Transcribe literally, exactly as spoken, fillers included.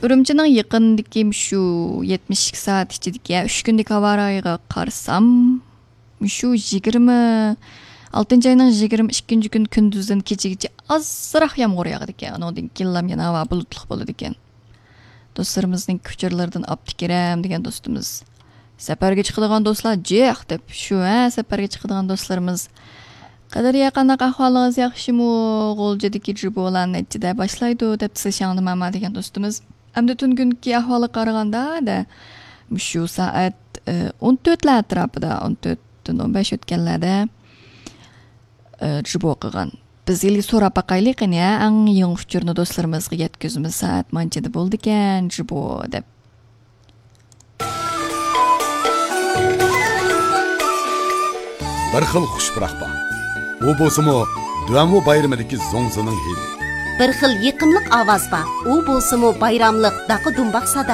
ئۈرۈمچىنىڭ يېقىندىكى مۇشۇ يەتمىش ئىككى سائەت ئىچىدىكى، يا، ئۈچ كۈندىكى ھاۋا رايىغا قارىسام، مۇشۇ يىگىرمە، ئالتىنچى ئاينىڭ يىگىرمە ئىككىنچى كۈنى كۈندۈزدىن كېچىگىچە ئازراق يامغۇر ياغىدىكەن. ئۇنىڭدىن كېيىنلا يەنە ھاۋا بۇلۇتلۇق بولىدىكەن. دوستلىرىمىزنىڭ ئۇچۇرلىرىدىن ئابدۇكېرەم دېگەن دوستىمىز، سەپەرگە چىقىدىغان دوستلار جىق دەپ، شۇ، ھە، سەپەرگە چىقىدىغان دوستلىرىمىز. قەدرىيە، قانداق ئەھۋالىڭىز، ياخشىمۇ؟ غۇلجىدىكى جىبولار نەچچىدە باشلايدۇ دەپتۇ، سىز شاڭدىماما دېگەن دوستىمىز. ئەمدى تۈنۈگۈنكى ئەھۋالغا قارىغاندا، دە، مۇشۇ سائەت، ئە، ئون تۆتلەر ئەتراپىدا، ئون تۆتتىن ئون بەش ئۆتكەنلەردە، ئە، جىبو قىلغان. بىز ھېلىگە سوراپ باقايلى قېنى، ھە، ئەڭ يېڭى ئۇچۇرنى دوستلىرىمىزغا يەتكۈزىمىز، سائەت مانچىدا بولىدىكەن جىبو دەپ. بىر خىل خۇش پۇراق بار. ئۇ بولسىمۇ دۈەنۋۇ بايرىمىدىكى زوڭزىنىڭ ھىدى. بىر خىل يېقىملىق ئاۋاز بار. ئۇ بولسىمۇ بايراملىق داقا دۇمباق ساداسى.